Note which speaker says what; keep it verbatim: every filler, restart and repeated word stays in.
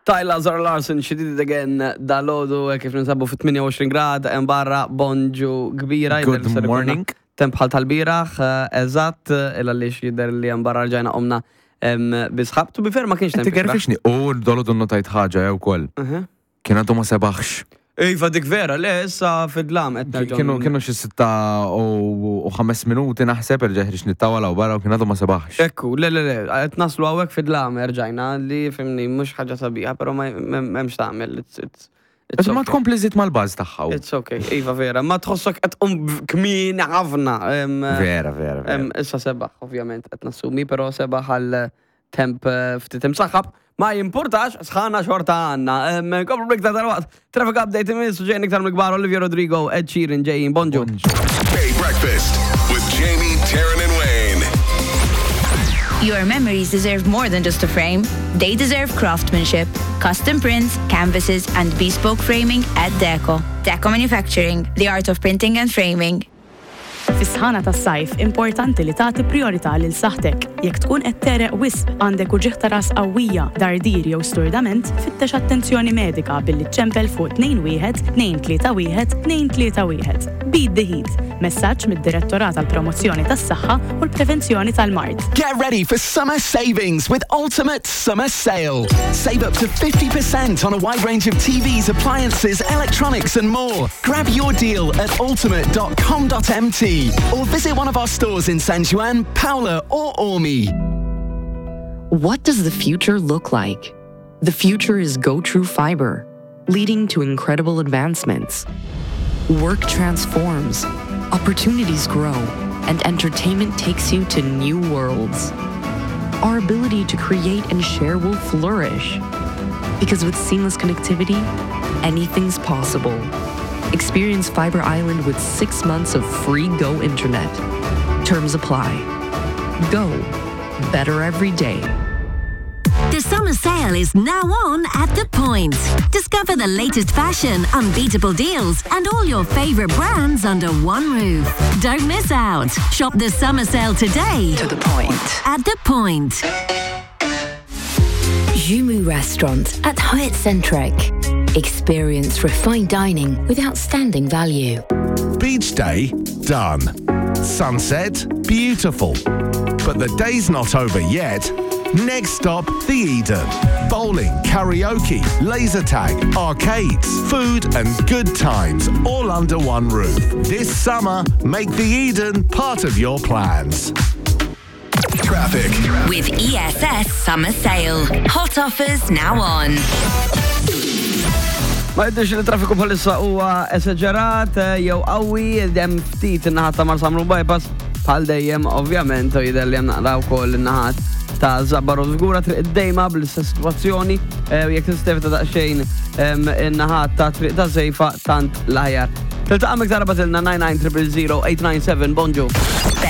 Speaker 1: Tyla, Zara Larsson, "She Did It Again" dalgħodu kif ninsabu fi tmienja u għoxrin grad, hemm barra bonġu kbira.
Speaker 2: Good
Speaker 1: jidher li ser ikolna
Speaker 2: morning.
Speaker 1: temp bħal tal-bieraħ, eh, eżatt, illa li jidher li hemm barra rġajna qomna em, bi sħab. To be fair, ma kienx temp ikraħ.
Speaker 2: Tigerfixni, u dalgħodu notajt ħaġa jew ukoll.
Speaker 1: Mhm.
Speaker 2: Kien għadu ma sebaħx.
Speaker 1: Iva, dik vera, le, issa fid-dlam qed nerġgħu
Speaker 2: Kienu kienu xi sitta u u ħames minuti naħseb, erġa' ħriġt nittawala u barra u kien għadu ma sebaħx.
Speaker 1: Ekku, le, le, le, qed naslu hawnhekk fid-dlam erġajna li fhimni, mhux ħaġa sabiħa, però ma m'hemmx tagħmel. It's, it's, it's
Speaker 2: Ma
Speaker 1: okay.
Speaker 2: tkompli żid mal-baż tagħha.
Speaker 1: It's okay, iva vera. Ma tħossok qed tqum kmieni ħafna. em,
Speaker 2: Vera, vera, vera.
Speaker 1: em, Issa sebaħ, ovvjament, qed nassumi, però sebaħ għal temp eh, ftit imsaħħab. Ma jimpurtax, sħana xorta għandna. Em, Komplu bliktar tal-waqt. Traffic update imiss u ġejn iktar mill-kbar Olivia Rodrigo, Ed Sheeran ġejjin. Bonġu.
Speaker 3: Bay Breakfast with Jamie, Taryn, and Wayne.
Speaker 4: Your memories deserve more than just a frame. They deserve craftsmanship, custom prints, canvases, and bespoke framing at Deco. Deco Manufacturing, the art of printing and framing.
Speaker 5: Fis-sħana tas-sajf importanti li tagħti priorità lil saħtek. Jekk tkun qed tegħreq wisq, għandek uġigħ ta' ras qawwija, dardir jew sturdament, fittex attenzjoni medika billi ċempel fuq tnejn wieħed tnejn tlieta wieħed tnejn tlieta wieħed. Beat the Heat. Messaġġ mid-Direttorat għall-Promozzjoni tas-Saħħa u l-Prevenzjoni tal-Mard.
Speaker 6: Get ready for summer savings with Ultimate Summer Sale. Save up to fifty percent on a wide range of T Vs, appliances, electronics, and more. Grab your deal at ultimate dot com dot M T or visit one of our stores in San Juan, Paola, or Qormi.
Speaker 7: What does the future look like? The future is GoTrue Fiber, leading to incredible advancements. Work transforms, opportunities grow, and entertainment takes you to new worlds. Our ability to create and share will flourish. Because with seamless connectivity, anything's possible. Experience Fiber Island with six months of free Go internet. Terms apply. Go. Better every day.
Speaker 8: The summer sale is now on at The Point. Discover the latest fashion, unbeatable deals, and all your favorite brands under one roof. Don't miss out. Shop the summer sale today.
Speaker 9: To the point.
Speaker 8: At The Point.
Speaker 9: Jumu Restaurant at Hyatt Centric. Experience refined dining with outstanding value.
Speaker 3: Beach day, done. Sunset, beautiful. But the day's not over yet. Next stop, the Eden. Bowling, karaoke, laser tag, arcades, food and good times, all under one roof. This summer, make the Eden part of your plans. Traffic.
Speaker 8: With E S S Summer Sale. Hot offers now on.
Speaker 1: Ma jidhirx li traffiku bħalissa huwa esaġerat eh, jew qawwi, hemm ftit in-naħat ta' Marsamrun Bypass bħal dejjem ovvjament, u jidher li hemm naqra wkoll in-naħat ta' Żabbar u Żgura, Triq id-Dejma bl-istess sitwazzjoni eh, u jekk tista' tevita daqsxejn em, in-naħat ta' Triq ta' Sejfa tant l-aħjar. Tiltaqa' iktar, ibgħatilna nine nine zero zero eight nine seven. Bonġu.